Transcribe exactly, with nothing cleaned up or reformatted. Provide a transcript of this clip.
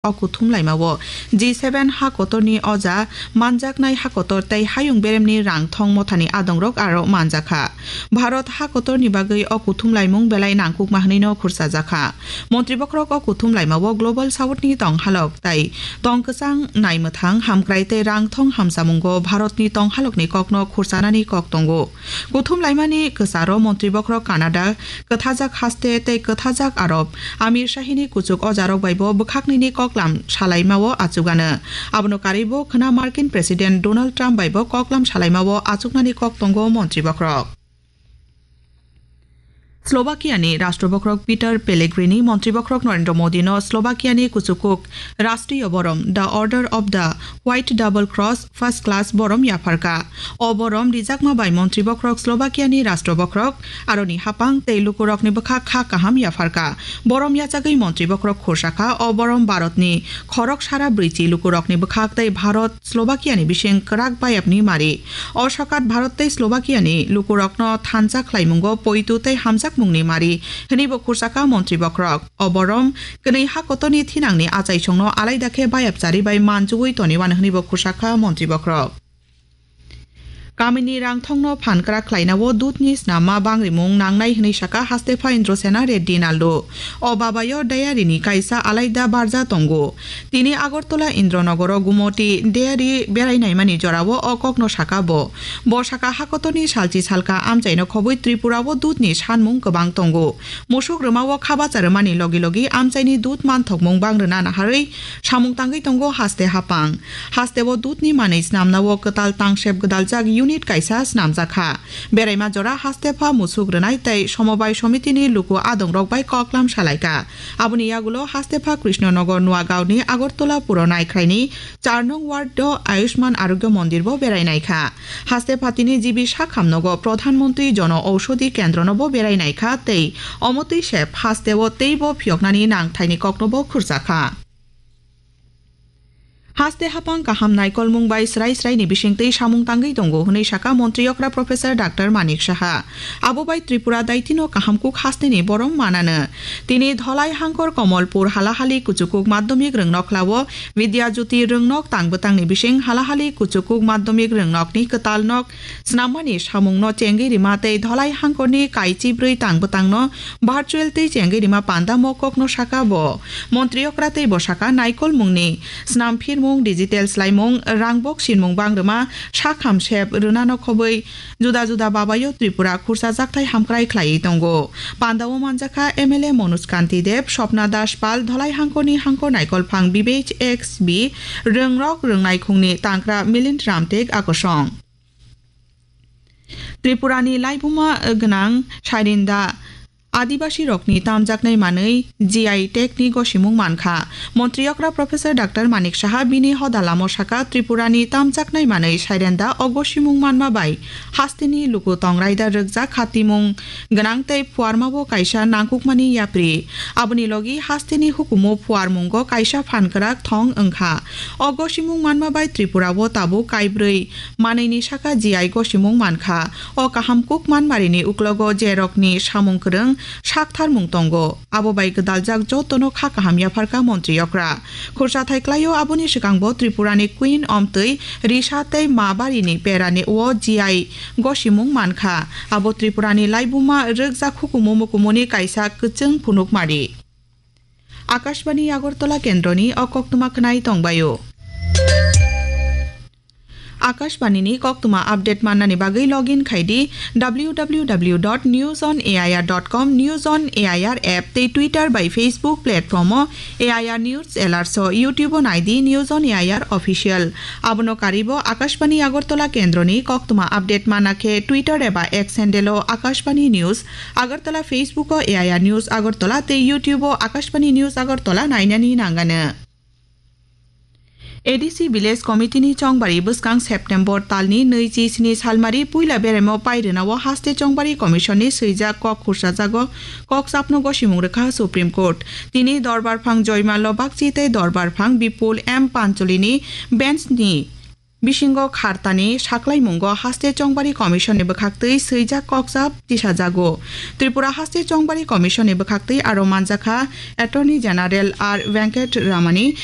o kuthum laimao G seven ha kotorni oja manjaknai ha kotor tei hayung beremni rang thong mothani adongrok aro manjakha. Bharat ha kotorni bagwi o kuthum laimung belai nangkukma hwnwino khursajakha. Montri bokhorok o kuthum laimao Global South ni tong halok tei tong kwchang naimwthang hamkrai tei rang thong hamsamungo Bharatni tong halokni kokno khursanani kok tongo. Kuthum laimani kwcharo montri bokhorok Canada, kwthajak haste tei kwthajak Arab Amir Shahini kuchuk ojarok baibo bwkhaknwini koklam salaimao achugano. Abono karwibo khwna Markin President Donald Trump baibo koklam salaimao achuknani kok tongo montri bokhorok. Slovakia ni Rashtra Bokhorok Peter Pellegrini Montri Bokhorok Narendra Modi no Slovakia ni kuchukuk Rashtriya Borom, The Order of the White Double Cross, First Class Borom yapharka. O borom rijakma bai Montri Bokhorok Slovakia ni Rashtra Bokhorok, aroni hapang tei lukurok ni bwkha kha kaham yapharka. Borom yachagwi Montri Bokhorok khursa kha, o borom Bharat ni khorok sara brwichi lukurok ni bwkhak tei Bharat Slovakia ni bising kwrak bayapni mari. O sokat Bharat tei Slovakia ni lukurokno thansa khlaimungo poitu tei hamjakmungni mari, hwnwibo khursakha Montri Bokhorok. O borom kwnwi ha kotorni thinangni achaisongno alaida khe bayapchari bai manjugwi toniwan hwnwibo khursakha Montri Bokhorok. Kamini rangthongno phan kwrak khlainao dudni snamma bangrimung nangnai hwnwi sakha Hastepha Indrasena Reddy Nallu. O babayo dairy ni kaisa alaida barja tongo. Tini Agartala Indranogoro Gumoti dairy berai naimani jorao o kokno saka bo. Bo saka hakotorni salchi salka amchaino khobwi Tripurao dudni sanmung kwbang tongo. Musuk rwmao khabacha rwmani logi logi amchaini dud manthokmung bang rwna naharwi samung tangwi tongo haste hapang. Hasteo dudni manwi snamnao kwtal tangsep gwdaljak unit kaisa snamjakha. Beraima jora Hastepha musuk rwnai tei Somobai Somitini luku adongrok bai koklam salaikha. Aboni yagulo Hastepha Krishnanagar Nuagaonni Agartala Puro Naikhraini char nong ward o Ayushman Arogya Mondir bo berai naikha. Hastepha tini G B Sakham nogo Pradhan Mantri Jono Aushadhi Kendro no bo berai naikha tei omotwi sep hasteo teibo phiyoknani nangthaini kokno bo khurjakha. Haste hapang kaham naikolmung bai srai srai ni bisingtwi samung tangwi tongo hwnwi saka Montri okra Professor Doctor Manik Saha. Abo bai Tripura daitino kaham kuk hasteni borom manano. Tini Dholai hangkor Komolpur halahali kuchukuk madhyamik rwngnok lao Vidya Jyoti rwngnok tang bwtangni bising halahali kuchukuk madhyamik rwngnokni kwtal nok snammani samungno chengwi rima tei Dholai hangkorni kaichi bwrwi tang bwtangno virtual tei chengwi rima panda mokokno saka bo. Montri okra tei bo saka naikolmungni snam phirmung, digital swlaimung, rangbok sinmung bang rwma, sakham sep rwnano khobwi juda juda babayo Tripura khursa jakthai hamkrai khlaiwi tongo. Pandao manjakha M L A Manoj Kanti Deb, Swapna Das Pal, Dholai hangkorni hangkor naikolphang Bibek X B, rwngrok rwngnaikhungni tangkra Milind Ramtek akosong. Tripurani laibuma gwnang Sairenda Adibasi rokni tamjaknai manwi G I tag ni gosimung mankha. Montri okra Professor Doctor Manik Saha bini hoda lamo saka Tripurani tamjaknai manwi Sairenda o gosimung manma bai hasteni luku tong raida rwkjak khatimung gwnang tei phuarmabo kaisa nangkukmani yapri. Aboni logi hasteni hukumu phuarmungo kaisa phan kwrak thong wngkha. O gosimung manma bai Tripurao tabuk kaibrwi manwini saka G I gosimung mankha. O kaham kuk manmarini uklogo jerokni samung kwrwng saktharmung tongo. Abo bai gwdaljak jotono kha kaham yapharkha Montri okra. Khursa thai klaio aboni swkangbo Tripurani Queen omtwi Risa tei Ma barini perani o G I gosimung mankha. Abo Tripurani laibuma rwkjak hukumu mukumuni kaisa kwchwng phunukmari. Akashbani Agartala kendroni o koktwma khwnai tongbaio. Akashbani ni koktwma update mannani bagwi login khai di W W W dot news on A I R dot com, News on A I R app tei Twitter bai Facebook platform o A I R News Alerts o, YouTube o nai di News on A I R Official. Abono karibo Akashbani Agartala kendroni koktwma update mana khe Twitter eba X handle o Akashbani News Agartala, Facebook o A I R News Agartala tei YouTube o Akashbani News Agartala nainani nangano. A D C Village Committee ni chongbari bwskang September talni nui chi sini salmari puila beremo pairwnao haste chongbari commission ni swijak kok khursajago kok chapno gosimung rwkha Supreme Court. Tini dorbar phang Joymallo Bagchi tei dorbar phang Bipul M Pancholi ni bench ni bisingo khartani saklaimungo haste chongbari commission ni bwkhaktwi swijak kokjab tisajago. Tripura haste chongbari commission ni bwkhaktwi aro manjakha Attorney General R Venkat Ramani,